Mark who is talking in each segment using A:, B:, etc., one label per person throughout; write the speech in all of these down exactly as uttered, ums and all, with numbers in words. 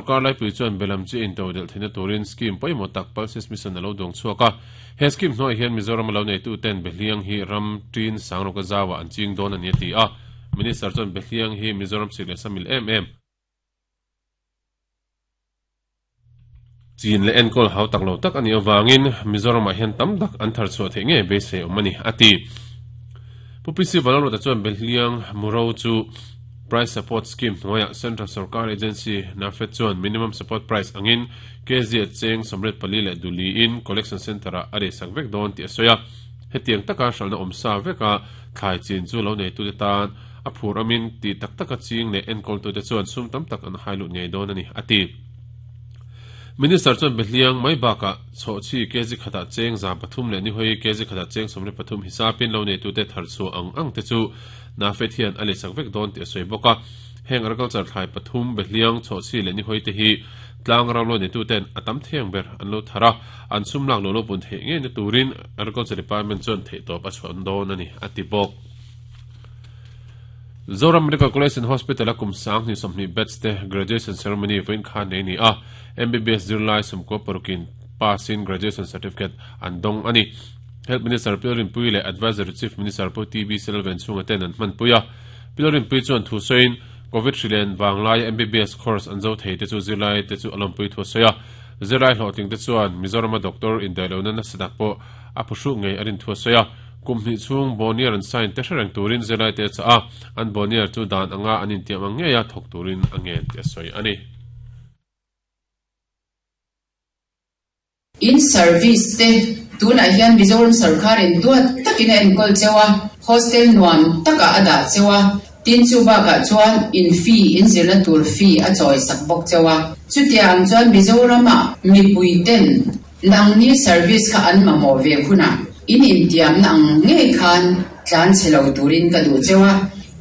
A: Sarkar laipui chuan belam chi intodelh theihna turin scheme pawimawh tak Pulses Mission a lo duang chhuak a. He scheme hnuaiah hian Mizoram a lo neitu ten Behliang hi ram tin Sangrawka zauah an ching dawn a ni a ti a. Minister chuan Behliang hi Mizoram sik leh samil em em chin leh enkawl hau tak lo tak a nih avangin Mizoramah hian tam tak an thar chhuah theih ngei beisei awm a ni a ti. Pu P C Vanlalruata chuan Behliang Muro chu Price Support Scheme hnuaiah Central Sarkar Agency NAFED chuan Minimum Support Price angin K Z cheng sawmriat pali leh duliin Collection Centre-ah a reisak vek dawn tih a sawi a. Hetiang taka hralhna awm sa veka thlai chin chu lo neitute tan a phur amin tih tak taka ching leh enkawltute chuan sum tam tak an hai lut ngei dawn a ni, a ti. Minister chuan Behliang mai bakah chhawhchhi kg khatah cheng za pathum leh nihawi kg khatah cheng sawmriat pathum hisapin lo neitute thar chhuah ang ang te chu NAFED hian a leisak vek dawn tih a sawi bawk a. Heng agriculture thlai pathum Behliang chhawhchhi leh nihawi te hi tlang ram lo neituten a tam theng ber an lo thar a, an sum lak lo lo pun theih ngei na turin Agriculture Department chuan theihtawp a chhuah dawn a ni, a ti bawk. Zoram Medical College and Hospital a kum sang hnih sawmhnih batch te graduation ceremony vawiin khan nei a ni a, M B B S zirlai sawmkua parukin pass in graduation certificate an dawng a ni. Health Minister Pi Rinpuii leh Advisory Chief Minister Pu T B Selven chhunga ten an hmanpui a. Pi Rinpuii chuan thu sawiin Covid hrilen vanglaia M B B S course an zo thei te chu zirlai te chu a lawmpui thu a sawi a. Zirlai hlawhtling te chuan Mizorama doctor indaihlohna nasa tak pawh a phuhruh ngei a rin thu a sawi a. Kum hnih chhung Bonnier an sign te hre reng turin zirlai te a chah a, an Bonnier chu dan anga an intiam ang ngei a thawk turin a ngen tih a sawi a ni.
B: In service te tunah hian Mizoram sarkarin duat takin a enkawl cheu a, hostel nuam takah a dah cheu a, tin chu bakah chuan in fee in zirna tur fee a chawi sak bawk cheu a. Chutiang chuan Mizoramah mipui ten nangni service kha an mamawh ve hunah in intiamna ang ngei khan tlan chhe lo turin ka duh cheu a.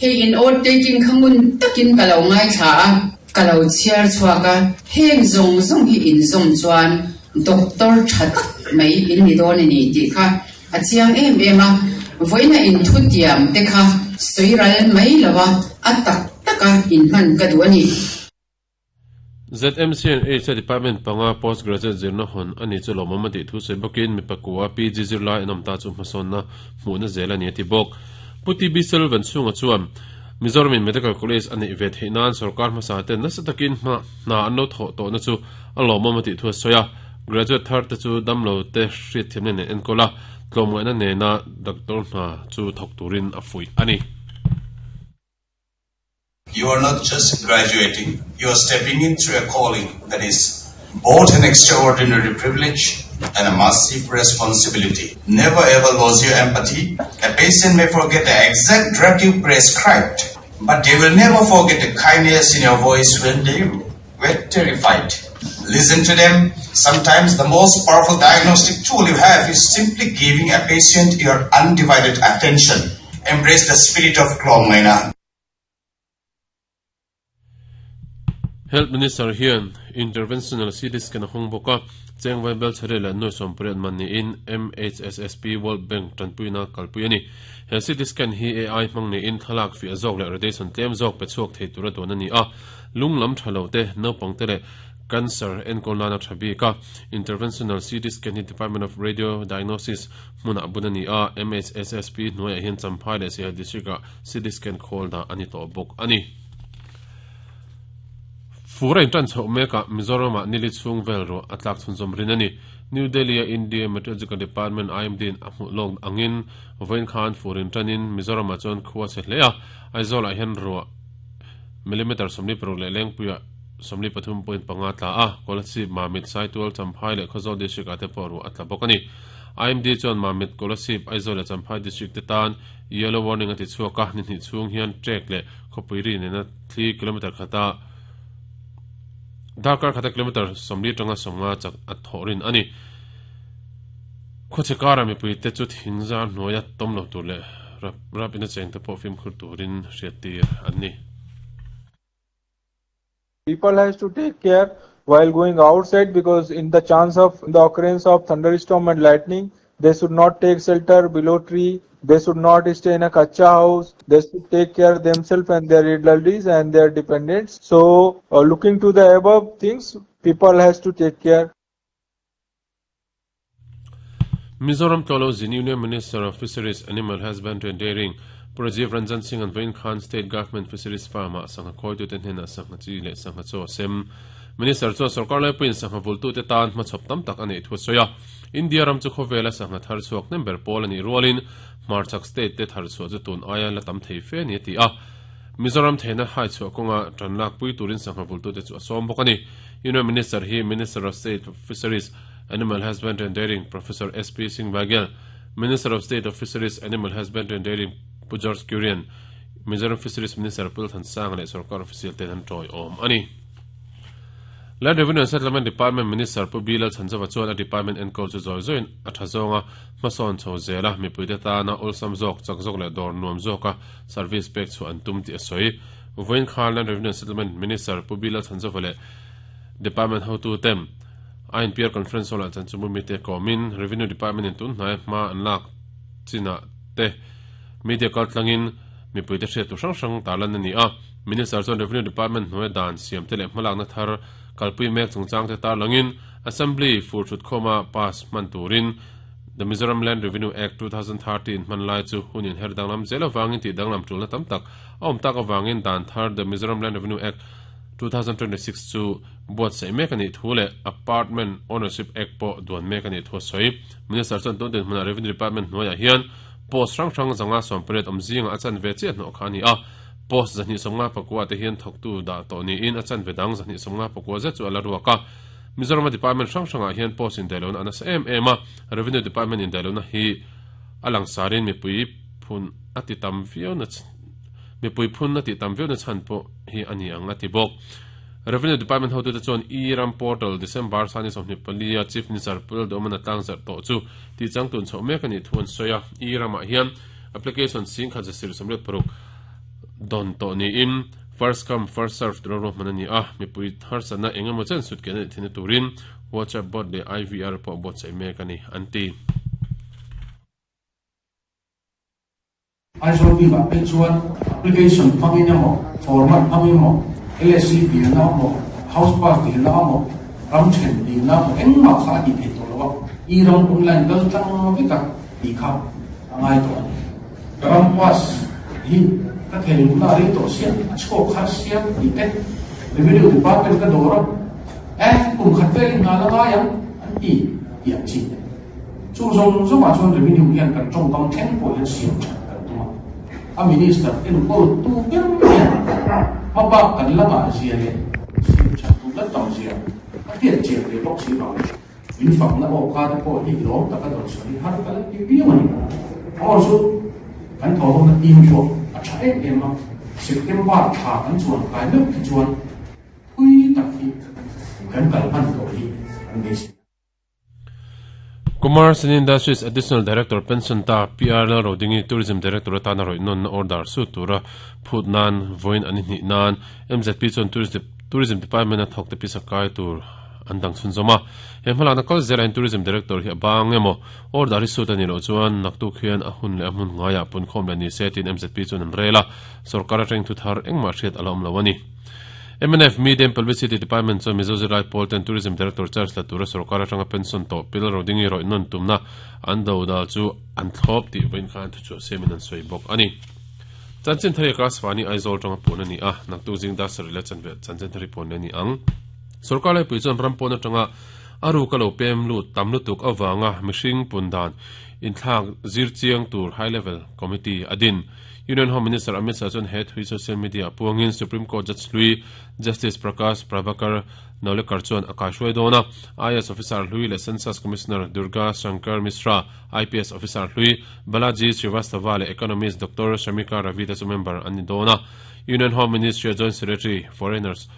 B: Hei in oath taking kha ngun takin ka lo ngaithla a, ka lo chhiar chhuak a, heng zawng zawng hi in zawm chuan doctor tha tak mai in ni dawn a ni tih kha a chiang em em a. Vawiina in thutiam te kha sawi ral mai lo a, a tak taka in hman ka duh a ni.
A: Z M C and H Department panga postgraduate zirna hawn a ni chu lawmawm a tih thu sawi bawkin mi pakua P G zirlai an awm ta chu hmasawnna hmuhna zel a ni a ti bawk. Pu T B Selvan chhunga chuan Mizoramin Medical College a neih ve theih nan sarkar hmasa ten nasa takin hma hna an lo thawh tawhna chu a lawmawm a tih thu a sawi a. Graduate thar te chu damlo te hriat thiamna nen enkawl a, tlawmngaihna nena doctor hna chu thawk turin a fuih a ni.
C: You are not just graduating, you are stepping into a calling that is both an extraordinary privilege and a massive responsibility. Never ever lose your empathy. A patient may forget the exact drug you prescribed, but they will never forget the kindness in your voice when they were terrified. Listen to them. Sometimes the most powerful diagnostic tool you have is simply giving a patient your undivided attention. Embrace the spirit of Tlawmngaihna.
A: Health Minister hian Interventional C T scan a hawng bawk a, Chengvai Belchhari leh Nuai Sawmpariat man niin M H S S P World Bank tanpuina kalpui a ni. He C T scan hi A I hmang niin thlalak fiah zawk leh radiation tlem zawk pe chhuak thei tura duan a ni a. Lung lam tha lo te, naupang te leh cancer enkawl nana tha bik a. Interventional C T scan hi Department of Radio Diagnosis hmunah bun a ni a, M H S S P hnuaiah hian Champhai leh Siaha District-ah C T scan khawl dah a ni tawh bawk a ni. Fur a intan chhoh mekah Mizoramah nili chhung vel ruah a tlak chhunzawm rin a ni. New Delhi-a India Meteorological Department I M D-in a hmuh lawk angin vawiin khan fur intanin Mizoramah chuan khua chhe hle a, Aizawlah hian ruah millimeter sawmli paruk leh lengpuiah sawmli pathum point panga tla a, Kolasib, Mamit, Saitual, Champhai leh Khawzawl district-ah te pawh ruah a tla bawk a ni. I M D chuan Mamit, Kolasib, Aizawl leh Champhai district te tan yellow warning a ti chhuak a, ni hnih chhung hian trek leh khawpui ri nena thli kilometer khata darkar khata kilometer sawmli tanga sawmnga chak a thawh rin a ni. Khawchhe kara mipui te chu thingzar hnuaia tawm lo tur leh rap rap ina cheng te pawh fimkhur turin hriat tir an ni.
D: People has to take care while going outside because in the chance of the occurrence of thunderstorm and lightning, They should not take shelter below tree. They should not stay in a kacha house. They should take care of themselves and their elderlies and their dependents. So, uh, looking to the above things, people has to take care.
A: Mizoram Tolo Zin Union Minister of Fisheries, Animal Husbandry and Dairying, Rajiv Ranjan Singh and Vain Khan State Government Fisheries Farm sangha khoi tu ten hena sangha chi le sangha chaw sem Minister chu sarkar lai puin sangha vultu te tan ma chop tam tak ani thu soya India ram chu khowela sangha thar chuak number pol ani rualin Marchak state te thar chu tun aya la tam thei fe ni ti a Mizoram thena hai chu konga tranlak pui turin sangha vultu te chu som bok ani Union Minister hi Minister of State of Fisheries Animal Husbandry and Dairying Professor S P Singh Baghel Minister of State of Fisheries Animal Husbandry and Dairying George Kurian Mizoram Fisheries Minister Pul Than Sang le sarkar official ten han toi om ani Land Revenue and Settlement Department Minister Pu Bilal Chanzawa chuan a department enkawl chu zawi zawiin a tha zawnga hmasawn chho zela mipuite tana awlsam zawk chak zawk leh dawr nuam zawka service pek chu an tum tih a sawi Vawiin khan Land Revenue and Settlement Minister Pu Bilal Chanzawa leh Department hotu tem I N P R Conference hall ah chan chu mumi te kawmin Revenue Department in tun hnai hma an lak chinah te media kaltlangin mipuite hriat tu hrang hrang tarlan ani a Minister chuan Revenue Department hnuai dan siam te leh hmalakna thar kalpui mek chungchang te tarlangin Assembly fur thut khawma pass hman turin The Mizoram Land Revenue Act two thousand thirteen hman lai chu hunin her danglam zel awangin tih danglam tulna tam tak a awm tak awangin dan thar The Mizoram Land Revenue Act two thousand twenty-six chu buat saih mek ani thu leh Apartment Ownership Act pawh duan mek ani thu a sawi Minister chuan tun din hmunah Revenue Department hnuaiah hian post rang rang zanga sawm pariat awm zinga a chan ve chiah hnawh kha ani a post zahnih sawmnga pakua te hian thawktu dah tawh niin a chan ve dang zahnih sawmnga pakua zet chu a la ruak a Mizoram Department hrang hrangah hian post indaihlohna a nasa em em a Revenue Department indaihlohna hi a langsarin mipui phun a ti tam viau na mipui phun a ti tam viau na chhan pawh hi ani ang a ti bawk Revenue Department hotu te chuan E-Ram Portal December sani sawmhnih palia Chief Minister Pul Domana tlangzar tawh chu ti changtun chhoh mek ani thu an sawi a E-Ramah hian application sing khat za sir sawmriat paruk don tawh niin first come first serve tura ruahman ani a mipui harsatna engemaw chen sut ken ani thina turin WhatsApp bot leh I V R pawh buatsaih mek ani an ti
E: Aizawl bikah phei chuan application hmangin emaw format hmangin emaw L S C dilna emaw house pass dilna emaw ram then dilna emaw engmah kha a tih theih tawh lo a E-Ram online kal tlang vek a tih kha a ngai tawh ani ram pass hi ka thei luna rei tawh sia a chhuak kha sia tih te Revenue Department ka dawr a eh kum khat velin nga la ngai ang an ti tih ang chi chu zawng zawngah chuan revenue hian kan tawngkam thleng pawh hian siam that kan tum a a minister enkawl tu ber hian mabak kan langa zia le siam that tu la tam zia a hriat chian ve bawk si vang min fakna aw kha te pawh hi lawm taka dawn sawi har ka la ti viau ani awr chu kan thaw na team pawh a tha em em a September tha kan chuan kai meuh khi chuan phui tak hi kan kal hman tawh hi an nei si
A: Commerce and Industries Additional Director Pension ta P R L Rodingi Tourism Director atana roi non na order su tura phut nan voin ani hni nan M Z P chuan Tourism Department a thawk te pisa kai tur an dang chhun zawma he hmala na kal zela in Tourism Director hi a bang emaw order hi sut ani lo chuan naktuk hian a hun leh a hmun ngaia pun khawm leh ni se tin M Z P chuan an rela sarkar atang thu thar engmah hriat a la awm lo ani M N F Medium Publicity Department chuan Mizo Zirlai Pawl ten Tourism Director Charles Latura sarkar atanga pension tawh Pil Rodingi roi non tumna an do dal chu an thlawp tih vawiin khan thu chu semin an sawi bawk ani chanchin thari ka swani Aizawl tanga pun ani a naktuk jing da sari le chanve chanchin thari pun ani ang sarkar lai pui chuan ram pawn atanga aru ka lo pem lut tam lutuk awanga mihring pundan inthlak zir chiang tur high level committee adin Union Home Minister Amit Shah chuan head hui social media puangin Supreme Court Judge Lui Justice Prakash Prabhakar Navlekar chuan a kaihruai dawn a I S Officer Hlui leh Census Commissioner Durga Shankar Mishra I P S Officer Hlui Balaji Srivastava leh Economist Doctor Shamika Ravi te chu member an ni dawn a Union Home Ministry Joint Secretary Foreigners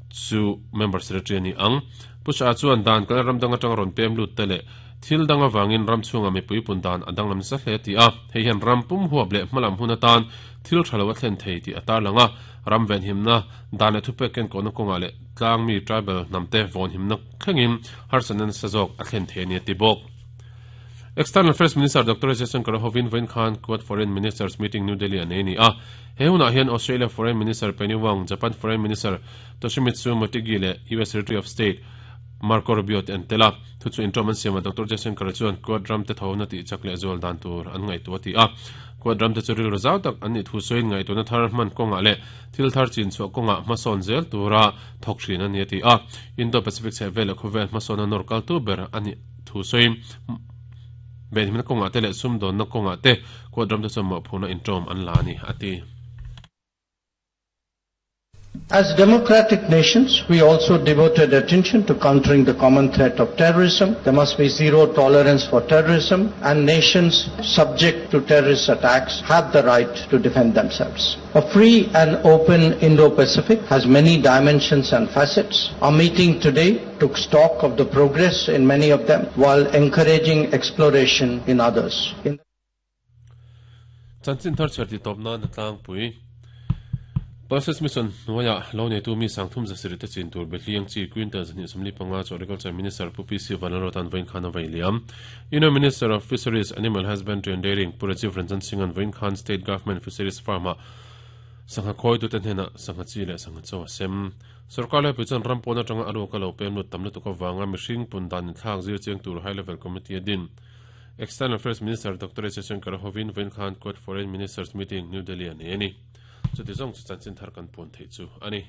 A: chu member secretary ani ang Pusha chuan dan kal ram dang atang rawn pem lut te leh thil danga wangin ram chunga mipui pundan adang lam sa hle ti a hei hian ram pum huap leh hmalam hun atan thil thalo a thlen thei ti atar langa ram ven himna dan le thupek ken kona konga le tlang mi tribal namte von himna thlengin harsanan sazok a thlen thei ni ti bawk External Affairs Minister Doctor Jaishankar hovin vawiin khan Quad Foreign Ministers Meeting New Delhi an nei ni a. He hunah hian Australia Foreign Minister Penny Wong, Japan Foreign Minister Toshimitsu Motegi leh U S Secretary of State Marco Rubio te an tel a. Thu chu inṭawm an siam a, Doctor Jaishankar chuan Quad ram te thona tih chak leh zual dan tur an ngaihtuah a ti a. Quad ram te chu rilru zau tak an nih thu sawiin ngaihtuahna thar hman kawngah leh thil thar chin chhuah kawngah hmasawn zel tura thawk thin a ni a ti a. Indo-Pacific chhehvel leh khawvel hmasawna nawr kaltu ber a nih thu sawiin venhimna kawngah te leh sumdawnna kawngah te Quad ram te chuan mawhphurhna inṭawm an la a ni a ti.
F: As democratic nations, we also devoted attention to countering the common threat of terrorism. There must be zero tolerance for terrorism, and nations subject to terrorist attacks have the right to defend themselves. A free and open Indo-Pacific has many dimensions and facets. Our meeting today took stock of the progress in many of them while encouraging exploration in others. In
A: Chanchin thar chhiar tih tawp nan a tlangpui. Pulses Mission hnuaiah lo neitu mi sangthum zasirih te chin tur Behliang chi quintal zahnih sawmli panga chu Agriculture Minister Pu P C Vanlalruata'n vawiin khan a vei liam. Union Minister of Fisheries, Animal Husbandry and Dairying Pu Rajiv Ranjan Singh-a'n vawiin khan State Government Fisheries Farm-ah sangha khawitute hnenah sangha chi leh sangha chaw a sem. Sorkar laipui chuan ram pawn atanga a ruak a lo pem lut tam lutuk avanga mihring pun dan inthlak zir chiang tur High Level Committee a din. External Affairs Minister Doctor S Jaishankar hovin vawiin khan Quad Foreign Ministers Meeting New Delhi a nei a ni. Chuti zawng chu chanchin thar kan puan theih chu a ni.